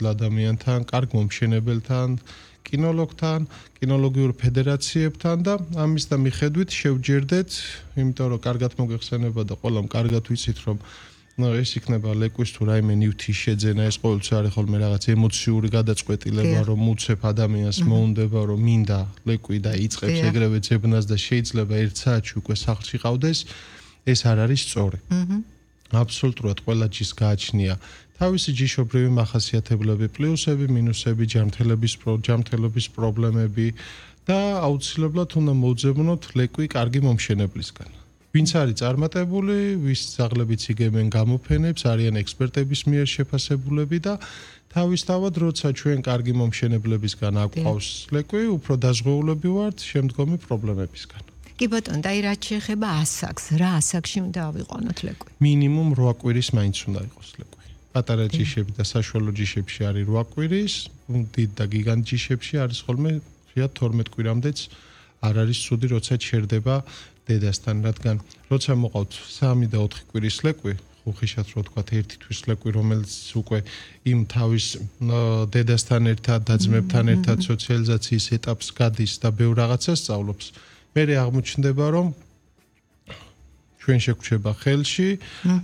ადამიანთან, კარგ მომშენებელთან, კინოლოგთან, კინოლოგიურ ფედერაციებთან და ამის და მიხედვით შევჯერდეთ, იმიტომ რომ კარგად მოგეხსენება და ყველამ კარგად ვიცით, რომ ეს იქნება ლეკვის თუ რაიმე ნივთის შეძენა, ეს ყოველთვის არის ხოლმე რაღაც ემოციური გადაწყვეტილება, რომ უცებ ადამიანს მოუნდება, რომ მინდა ლეკვი და იწყებს ეგრევე ძებნას და შეიძლება 1 საათში უკვე სახლში ყავდეს, ეს არ არის სწორი. აბსოლუტურად ყველა ჯის გააჩნია თავისი ჯიშობრივი მახასიათებლები, პლუსები, მინუსები, ჯანმრთელობის პრობლემები და აუცილებლად უნდა მოვძებნოთ ლეკვი კარგი მომშენებლისგან. ვინც არის წარმატებული, ვის ძაღლებიც იგებენ გამოფენებს, არიან ექსპერტების მიერ შეფასებულები და თავისთავად, როცა ჩვენ კარგი მომშენებლებისგან აგვყავს ლეკვი, უფრო დაზღვეულები ვართ შემდგომი პრობლემებისგან. კი ბატონო, და რაც შეეხება ასაკს, რა ასაკში უნდა ავიყვანოთ ლეკვი? მინიმუმ 8 კვირის მაინც უნდა იყოს ლეკვი. პატარა ჯიშები და საშუალო ჯიშებში არის 8 კვირის, დიდ და გიგანტ ჯიშებში არის ხოლმე 12 კვირამდეც არ არის ცუდი, როცა ჩერდება დედასთან, რადგან როცა მოყავთ 3 და 4 კვირის ლეკვი, ხუხიშად რო თქვა 1 თვის ლეკვი, რომელიც უკვე იმ თავის დედასთან ერთად და ძმებთან ერთად სოციალიზაციის ეტაპს გადის და ბევრ რაღაცას სწავლობს, მერე აღმოჩნდება, რომ ჩვენ შეგვჩება ხელში,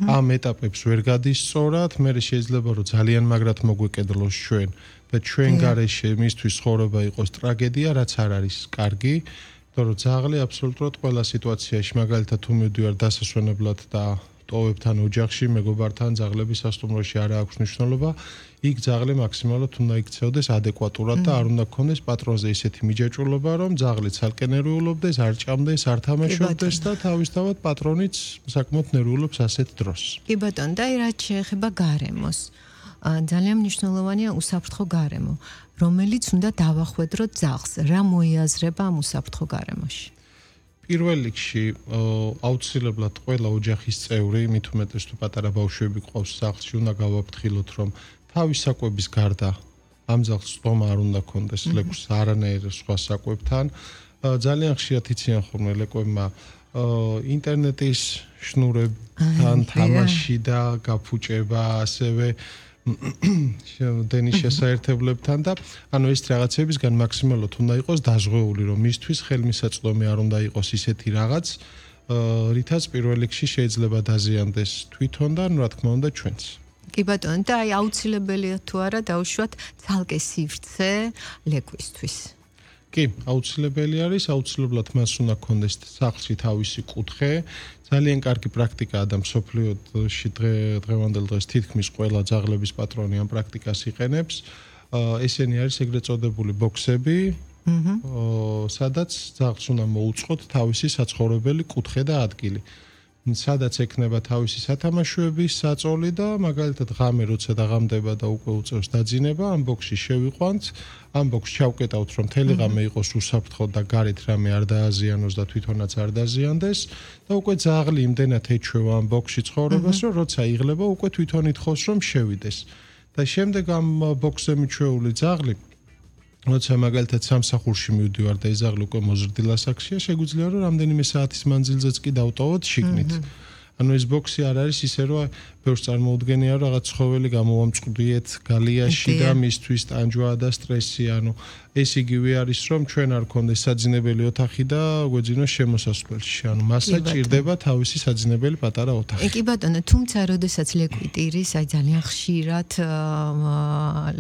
ამ ეტაპებს ვერ გადის სწორად, მერე შეიძლება რომ ძალიან მაგრად მოგვეკედლოს ჩვენ და ჩვენ გარეშე მისთვის ცხოვრება იყოს ტრაგედია, რაც არ არის კარგი. Რომ ძაღლი აბსოლუტურად ყველა სიტუაციაში, მაგალითად თუ მივდივარ დასასვენებლად და ტოვებთან ოჯახში, მეგობართან, ძაღლების სასტუმროში არ აქვს მნიშვნელობა, იქ ძაღლი მაქსიმალურად უნდა იქცეოდეს ადეკვატურად და არ უნდა გქონდეს პატრონზე ისეთი მიჯაჭვულობა, რომ ძაღლი ცალკე ნერვიულობდეს, არ ჭამდეს, არ თამაშობდეს და თავისთავად პატრონიც საკმაოდ ნერვიულობს ასეთ დროს. კი ბატონო, და რაც შეეხება გარემოს, ძალიან მნიშვნელოვანია უსაფრთხო გარემო, რომელიც უნდა დავახვედროთ ძაღლს, რა მოიაზრება ამ უსაფრთხო გარემოში? პირველ რიგში აუცილებლად ყველა ოჯახის წევრი, მით უმეტეს თუ პატარა ბავშვები ყავს სახლში, უნდა გავაფრთხილოთ, რომ თავის საკვების გარდა ამ ძაღლს სტომა არ უნდა ქონდეს ლეკვს არანაირ სხვა საკვებთან. ძალიან ხშირად იციან ხოლმე ლეკვებმა ინტერნეტის შნურებთან თამაში და გაფუჭება, ასევე დენის შესაერთებლებთან და ანუ ეს რაღაცებისგან მაქსიმალურად უნდა იყოს დაზღვეული, რომ მისთვის ხელმისაწვდომი არ უნდა იყოს ისეთი რაღაც, რითაც პირველ რიგში შეიძლება დაზიანდეს თვითონ და რა თქმა უნდა ჩვენც. კი ბატონო, და აუცილებელია თუ არა დავუშვათ ცალკე სივრცე ლეკვისთვის? კი, აუცილებელი არის, აუცილებლად მას უნდა გქონდეს სახლში თავისი კუთხე. ძალიან კარგი პრაქტიკაა და მსოფლიოში დღევანდელ დღეს თითქმის ყველა ძაღლების პატრონი ამ პრაქტიკას იყენებს. ესენი არის ეგრეთ წოდებული ბოქსები, სადაც ძაღლს უნდა მოუწყოთ თავისი საცხოვრებელი კუთხე და ადგილი. სადაც ექნება თავისი სათამაშოების საწოლი და მაგალითად ღამე როცა დაღამდება და უკვე უწევს დაძინება, ამ ბოქსში შევიყვანთ, ამ ბოქსში ჩავკეტავთ, რომ მთელი ღამე იყოს უსაფრთხო და გარეთ რამე არ დააზიანოს და თვითონაც არ დაზიანდეს და უკვე ძაღლი იმდენად ეჩვევა ამ ბოქსში ცხოვრებას, რომ როცა იღლება, უკვე თვითონ ითხოვს, რომ შევიდეს. და შემდეგ ამ ბოქსზე მიჩვეული ძაღლი როცა მაგალითად სამსახურში მივდივარ და ეს ძაღლი უკვე მოზრდილ ასაკშია, შეგვიძლია რომ რამდენიმე საათის მანძილზეც კი დავტოვოთ შიგნით. ანუ ეს ბოქსი არ არის ისე რომ ბევრს წარმოუდგენია რომ რაღაც ცხოველი გამოვამწყდიეთ გალიაში და მისთვის ტანჯვა და სტრესი, ანუ ეს იგივე არის რომ ჩვენ არ გქონდეს საძინებელი ოთახი და გვეძინოს შემოსასვლელში, ანუ მასა ჭირდება თავისი საძინებელი პატარა ოთახი. კი ბატონო, თუმცა როდესაც ლეკვი ტირის, აი ძალიან ხშირად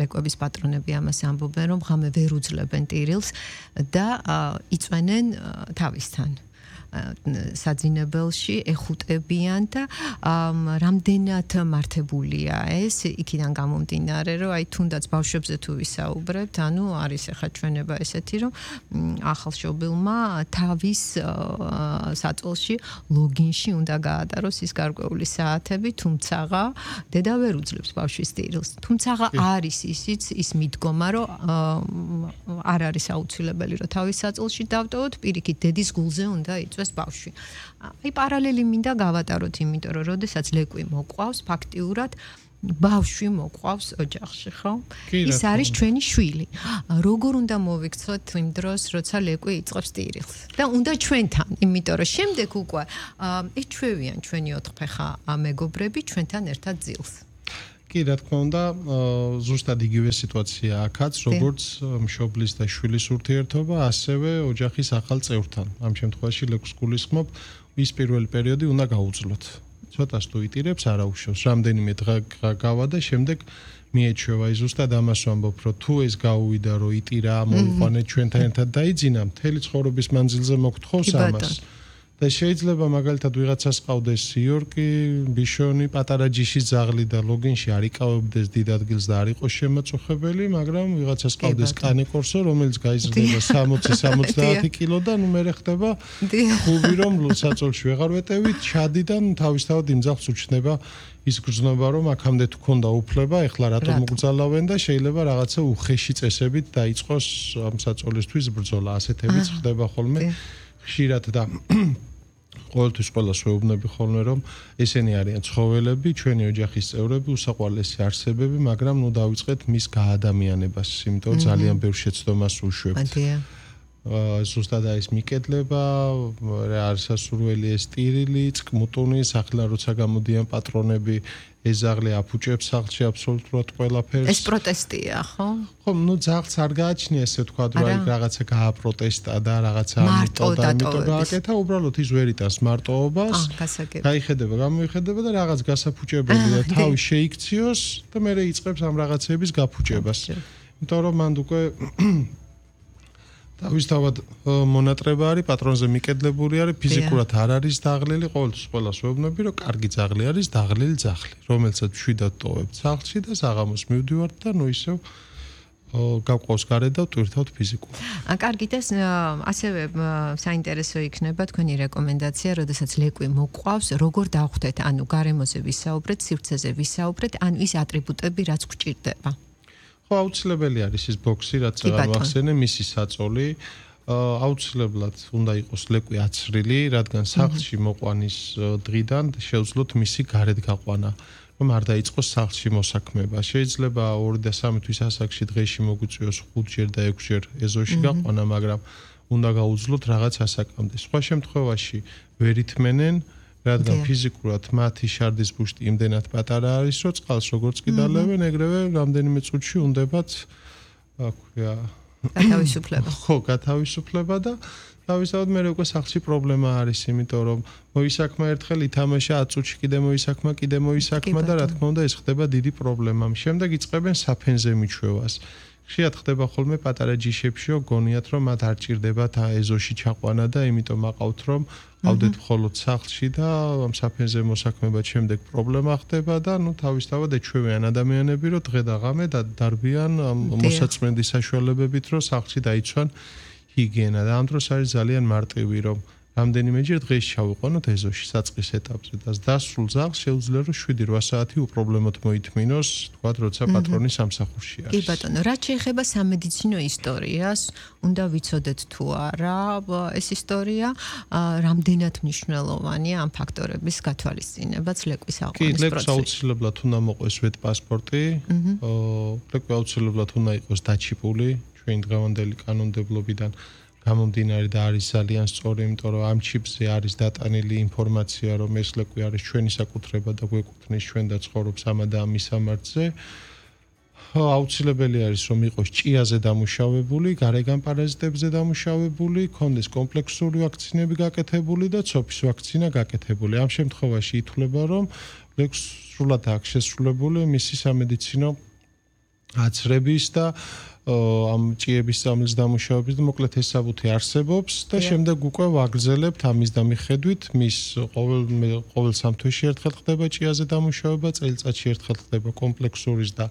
ლეკვების პატრონები ამას ამბობენ, რომ ღამე ვერ უძლებენ ტირილს და იწვენენ თავისთან საძინებელში, ეხუტებიან და რამდენად მართებულია ეს, იქიდან გამომდინარე, რომ აი თუნდაც ბავშვებზე თუ ვისაუბრებთ, ანუ არის ახლა ჩვენება ესეთი, რომ ახალშობილმა თავის საწოლში ლოგინში უნდა გაატაროს ის გარკვეული საათები, თუმცა დედა ვერ უძლებს ბავშვის ტირილს. თუმცა არის ის მიდგომა, რომ არ არის აუცილებელი, რომ თავის საწოლში დავტოვოთ, პირიქით დედის გულზე უნდა იწვევს ბავშვი. აი პარალელი მინდა გავატაროთ, იმიტომ რომ როდესაც ლეკვი მოყვავს, ფაქტიურად ბავშვი მოყვავს ოჯახში, ხო? ის არის ჩვენი შვილი. როგორ უნდა მოვიქცოთ იმ დროს, როცა ლეკვი იწყებს ტირილს? და უნდა ჩვენთან, იმიტომ რომ შემდეგ უკვე ეჩვევიან ჩვენი ოთხფეხა მეგობრები ჩვენთან ერთად ძილს. კი, რა თქმა უნდა, ზუსტად იგივე სიტუაცია აქაც, როგორც მშობლის და შვილის ურთიერთობა, ასევე ოჯახის ახალ წევრთან. ამ შემთხვევაში ლეკვს გულისხმობ, ის პირველი პერიოდი უნდა გაუძლოთ. ცოტას თუ იტირებს, არა უშავს. რამდენიმე დღე გავა და შემდეგ მიეჩვევა. ის ზუსტად ამას ვამბობ, რომ თუ ეს გაუვიდა, რომ იტირა, მოიყვანეთ ჩვენთან ერთად დაიძინა, მთელი ცხოვრების მანძილზე მოგთხოვს ამას. და შეიძლება მაგალითად ვიღაცას ყავდეს იორკი, ბიშონი, პატარა ჯიშის ძაღლი და ლოგინში არ იკავებდეს დიდ ადგილს და არ იყოს შემაწუხებელი, მაგრამ ვიღაცას ყავდეს კანიკორსო, რომელიც გაიზრდება 60-70 კილო და ნუ მე ხდება ხუბი რომ საწოლში ვეღარ ვეტევით, ჩადიდან თავისთავად იმ ძაღლს უჩნდება ის გრძნობა რომ აქამდე თუ ქონდა უფლება, ეხლა რატომ მოგძალავენ და შეიძლება რაღაცა უხეში წესებით დაიწყოს ამ საწოლისთვის ბრძოლა, ასეთებიც ხდება ხოლმე ხშირად და ყოველთვის ყველას ვეუბნები ხოლმე რომ ესენი არიან ცხოველები, ჩვენი ოჯახის წევრები, უსაყვარლესი არსებები, მაგრამ ნუ დავიწყეთ მის გაადამიანებას, იმიტომ ძალიან ბევრ შეცდომას უშვებთ. ზუსტად ეს მიკედლება, არის სასურველი ეს ტირილი, წკმუტუნი, ახლა როცა გამოდიან პატრონები, ეს ზაღლი აფუჭებს სახლში აბსოლუტურად ყველაფერს. ეს პროტესტია, ხო? ხო, ნუ ძაღლს არ გააჩნია ესე თქვა, რომ აი რაღაცა გააპროტესტა და რაღაცა ამიტოდა, იმიტომ გააკეთა, უბრალოდ ის ვერ იტანს მარტოობას. გაიხედება, გამოიხედება და რაღაც გასაფუჭებელი და თავი შეიქციოს და მე იწყებს ამ რაღაცების გაფუჭებას. იმიტომ რომ მანდ უკვე თავისთავად მონატრება არის, პატრონზე მიკედლებული არის, ფიზიკურად არ არის დაღლილი, ყოველთვის ყველას ვეუბნები, რომ კარგი ძაღლი არის დაღლილი ძაღლი, რომელსაც მშვიდად ტოვებთ სახლში და საღამოს მივდივართ და ნუ ისევ გავყავს გარეთ და ვტვირთავთ ფიზიკურად. კარგი და ასევე საინტერესო იქნება თქვენი რეკომენდაცია, როდესაც ლეკვი მოყვავს, როგორ დავხვდეთ, ანუ გარემოზე ვისაუბრეთ, სივრცეზე ვისაუბრეთ, ანუ ის ატრიბუტები, რაც გვჭირდება. აუცილებელი არის ის ბოქსი, რაც აღახსენე, მისი საწოლი. აუცილებლად უნდა იყოს ლეკვი აცრილი, რადგან სახლში მოყვანის დღიდან შეუძლოთ მისი გარეთ გაყვანა, რომ არ დაიწყოს სახლში მოსაქმება. შეიძლება 2 და 3 თვის ასაკში დღეში მოგვიწვიოს 5-ჯერ და 6-ჯერ ეზოში გაყვანა, მაგრამ უნდა გაუძლოთ რაღაც ასაკამდე. სხვა შემთხვევაში ვერ ითმენენ, რადგან ფიზიკურად მათი შარდის ბუშტი იმდენად პატარა არის, რომ წყალს როგორც კი დალევენ, ეგრევე რამდენიმე წუთში უნდებათ, აქვია, გათავისუფლება. ხო, გათავისუფლება და თავისთავად მე უკვე სახლში პრობლემა არის, იმიტომ რომ მოისაქმა ერთხელ ითამაშა 10 წუთში კიდე მოისაქმა და რა თქმა უნდა ეს ხდება დიდი პრობლემა. შემდეგ იწყებენ საფენზე მიჩვევას. ხშირად ხდება ხოლმე პატარა ჯიშებშიო გონიათ რომ მათ არ ჭირდებათ ეზოში ჩაყვანა და იმიტომ აყავთ რომ ავდეთ მხოლოდ სახლში და ამ საფენზე მოსაქმებად შემდეგ პრობლემა ხდება და ნუ თავისთავად ეჩვევიან ადამიანები რომ დღე და ღამე დარბიან მოსაწმენდის საშუალებებით რომ სახლში დაიცვან ჰიგიენა და ამ დროს არის ძალიან მარტივი რომ რამდენიმეჯერ დღეში ჩავიყვანოთ ეზოში საწყის ეტაპზე და დასრულ ძაღლს შეუძლია რომ 7-8 საათი უპრობლემოდ მოითმინოს, თქვათ, როცა პატრონი სამსახურში არის. კი ბატონო, რაც შეეხება სამედიცინო ისტორიას, უნდა ვიცოდეთ თუ არა ეს ისტორია, რამდენად მნიშვნელოვანია ამ ფაქტორების გათვალისწინებაც ლეკვის აყვანის პროცესში. კი, ლეკვს აუცილებლად უნდა მოყვეს ვეტპასპორტი, ლეკვი აუცილებლად უნდა იყოს დაჩიპული ჩვენი დღევანდელი კანონმდებლობიდან. გამომდინარე და არის ძალიან სწორი, იმიტომ რომ ამ ჩიპზე არის დატანილი ინფორმაცია, რომ ეს ლეკვი არის ჩვენი საკუთრება და გვეკუთვნის ჩვენ და ცხოვრობს ამა და ამის სამართზე. აუცილებელი არის რომ იყოს ჭიაზე დამუშავებული, გარეგან პარაზიტებზე დამუშავებული, კონდეს კომპლექსური ვაქცინები გაკეთებული და ცოფის ვაქცინა გაკეთებული. ამ შემთხვევაში ითვლება რომ ლეკვს სრულად აქვს შესრულებული მისი სამედიცინო აცრების და ამ ჭიების სამლის დამუშავების და მოკლედ ეს საბუთი არსებობს და შემდეგ უკვე ვაგრძელებთ ამის დამიხედვით მის ყოველ 3 თვეში ერთხელ ხდება ჭიაზე დამუშავება, წელიწადში ერთხელ ხდება კომპლექსურის და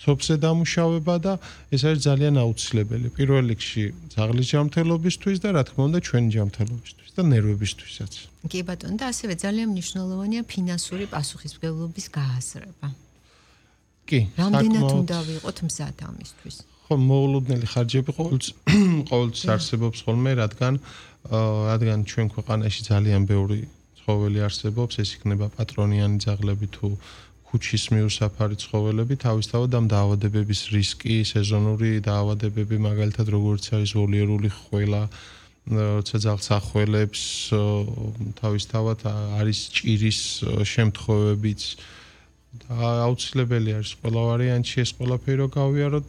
ცოფზე დამუშავება და ეს არის ძალიან აუცილებელი. პირველ რიგში ძაღლის ჯანმრთელობისთვის და რა თქმა უნდა ჩვენი ჯანმრთელობისთვის და ნერვებისთვისაც. კი ბატონო, და ასევე ძალიან მნიშვნელოვანია ფინანსური პასუხისმგებლობის გააზრება. კი, რამდენად უნდა ვიყოთ მზად ამისთვის? ხო, მოულოდნელი ხარჯები ყოველთვის არსებობს ხოლმე, რადგან ჩვენ ქვეყანაში ძალიან ბევრი ცხოველი არსებობს, ეს იქნება პატრონიანი ძაღლები თუ ქუჩის მიუსაფარი ცხოველები, თავისთავად ამ დაავადებების რისკი, სეზონური დაავადებები, მაგალითად როგორც არის ვოლიერული ხველა, როცა ძაღლს ახველებს, თავისთავად არის ჭირის შემთხვევებიც, აუცილებელი არის ყველა ვარიანტში ეს ყველაფერი რო გავიაროთ